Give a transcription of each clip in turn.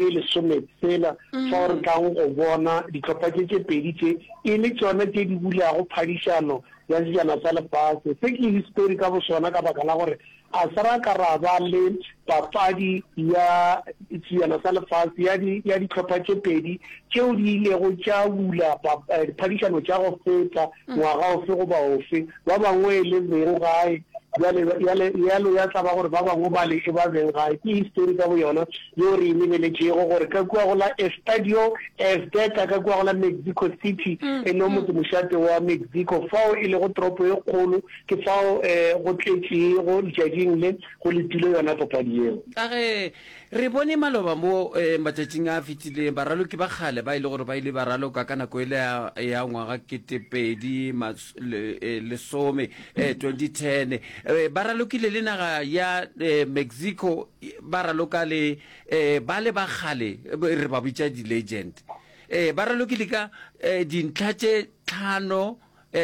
e lesometshela, fao re tlang go bona dihlopha tše tše pedi tše e le tšona tše di bulago phadišano ya Sejana sa Lefase. Se ke histori ka bosona ka baka la gore a se ra ka ra ba le papadi ya Sejana sa Lefase ya di, ya dihlopha tše pedi tšeo di ilego tša bula diphadišano tša go feta ngwaga ofe goba ofe, ba bangwe e le beng gae, bjale, bjale, bjalo ya tla ba gore ba bangwe bale e ba beng gae. Ke histori ka boyona yeo re e lebeletšego, gore ka kua go la Estadio Azteca, ka kua go la Mexico City, e lego motsemošate wa Mexico, fao e lego toropo e kgolo, ke fao go tletšego letšatšing le go letile yona papadi yeo. Ka ge re bone maloba mo matšatšing a fetileng, baraloki ba kgale ba e le gore ba ile ba raloka ka nako ele ya ngwaga 2010, 2010, ba ralokile le naga ya Mexico, ba raloka le bale ba kgale re ba bitša di-legend. Ba ralokile ka dintlha tše tlhano,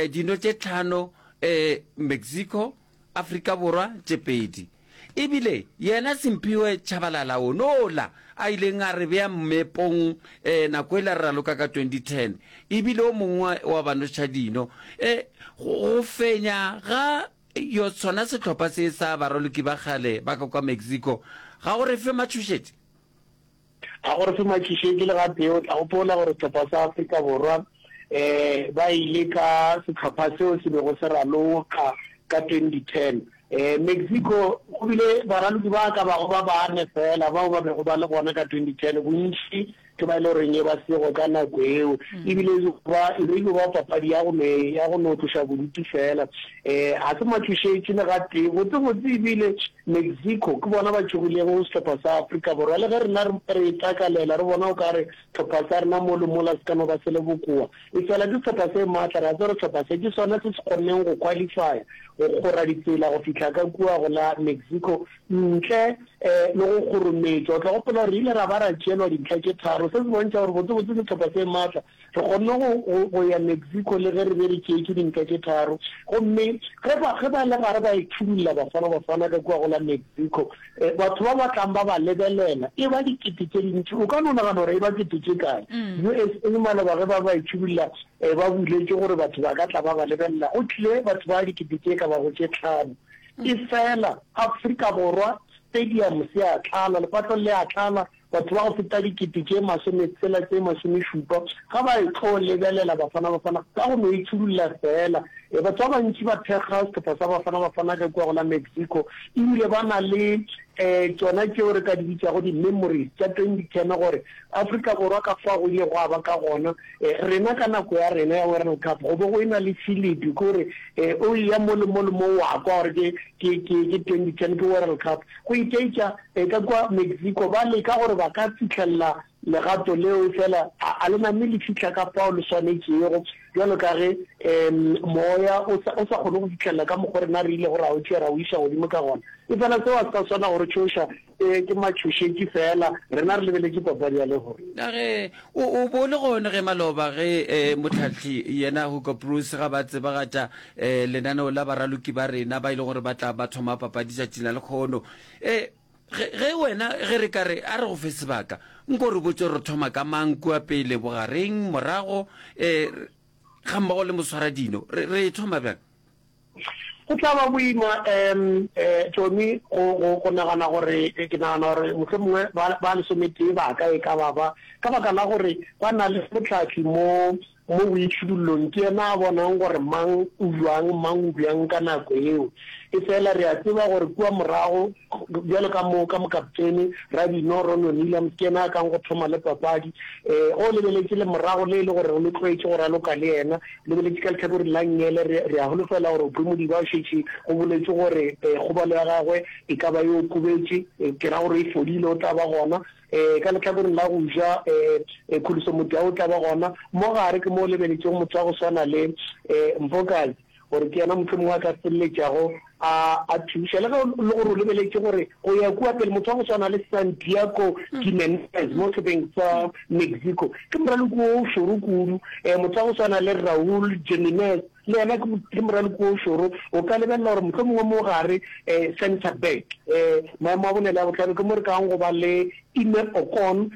dino tše tlhano, Mexico, Afrika Borwa tše pedi. E bile yena Simphiwe Tshabalala wonola a ileng a re bea mmepong nako ela re raloka ka 2010, e bile o mongwe wa banošadino. Go fenya ga yo sona sehlopha se sa baraloki ba kgale ba ka kwa Mexico ga go re fe matšhošetši. Ga go re fe matšhošetši le gatee. O tla gopola gore sehlopha sa Afrika Borwa um ba ile ka sehlopha seo se bego se raloka ka 2010. Um Mexico go bile baraloki ba ka bago ba bane feela bao ba bego ba le gona ka 2010, bontši ke ba e le goreng e ba sego ka nako eo. Ebile e ba e be e ba papadi ya go no ya go no tloša bodutu feela. Um ga se matšhošetši le gatee. Botsebotse ebile Mexico ke bona ba tšhogilego sehlopha sa Afrika Borwa. Le ge rena re e takalela, re bona o ka re sehlopha sa rena mo le mola se ka no ba se le bokoa, efela ke sehlopha se maatla. Re a tseba gore sehlopha se ke sona se se kgonneng go qualifya, go kgora ditsela go fihla ka kua go la Mexico ntle le go kgorometšwa. O tla gopola gore re ile ra ba ra tšeelwa dintlha tše tharo. Se se bontšha gore botsebotse ke sehlopha se maatla. Re kgonne go, go, go ya Mexico le ge re be re tšeetšwe dintlha tše tharo. Gomme ge ba, ge ba le gare ba e thudulla Bafana Bafana ka kua go la Mexico, batho ba ba tlang ba ba lebelela, e ba dikete tše dintši. O ka no nagana gore e ba kete tše kae. USA maloba ge ba ba e thudulla, ba buletše gore batho ba ka tla ba ba lebelela, go tlile batho ba dikete tše ka bago tše tlhano. Efela Afrika Borwa stadium se a tlala, lepatlelo le a tlala, Batho ba go feta dikete tše masometshela tše masomešupa ga ba e tlo lebelela Bafana Bafana ka go no e tšhudulla feela. E, batho ba bantši ba thekga sehlopha sa Bafana Bafana ka kua go la Mexico ebile ba na le um tšona tšeo re ka di bitšago di-memories tša 2010 gore Afrika Borwa ka fao go ile gwa ba ka gona. E, rena ka nako ya rena ya World Cup go be go e na le Philip ke gore e, o eya mo le mo le mo wa kwa gore ke, ke, ke, ke 2010 ke World Cup. Go ikeitša E, ka kua Mexico ba leka gore ba ka fihlelela legato leo, efela a, a le name le fihla ka fao le swanetšego, bjalo ka ge um moya o sa, o sa kgone go fihlelela ka mokgo rena re ilego ra o tšea ra o iša godimo ka gona. Efela seo ga se sa swana go re tšhoša, e, ke matšhošetši feela, rena re lebeletše papadi ya lehono. Ka ge o, o bo o le gona ge maloba ge e, mohlahli yena Hugo Broos ga ba tsebagatša e, lenaneo la baraloki ba rena ba e lego gore ba tla ba thoma papadi tšatšing la lekgono. E, ge, ge wena, ge re ka re, a re go fe sebaka, nko re botše re thoma ka mang kua pele, bogareng, morago, e, ga mmogo le moswaradino, re, re e thoma bjang? Go tla ba boima, um, eh, Tommy, go, go, go nagana gore, ke nagana gore mohlomongwe ba, ba lesometee ba ka e ka ba ba, ka baka la gore ba na le mohlahli mo, Mo boitšhidullong ke yena a bonang gore mang o bjang, mang o bjang ka nako yeo. Efela re a tseba gore kua morago, bjalo ka mo, ka mokaptene, Radino, Ronwen Williams, ke yena a kang go thoma le papadi. Ge o lebeletše le morago le e le gore le tlwaetše go raloka le yena, o lebeletše ka lehlakoreng la nngele, re, re a holofela gore Aubrey Modiba o šetše go boletšwe gore kgobalo ya gagwe e ka ba e okobetše, ke ra gore e fodile, o tla ba gona. Ka lehlakoreng la go ja, Khuliso Modiau o tla ba gona. Mo gare ke mo o lebeletšego motho wa go swana le Mfokazi gore ke yena mohlomongwe a ka feleletšago a a thuša. Le ge e le gore o lebeletše gore go ya kua pele motho wa go swana le Santiago Gimenez mo sehlopheng sa Mexico ke moraloki o šoro kudu. Motho wa go swana le Raul Jimenez le yena ke moraloki o šoro. O ka lebelela gore mohlomongwe mo gare, centre back, maemo a bone le a bohlano ke mo re kang go ba le Ime Okon.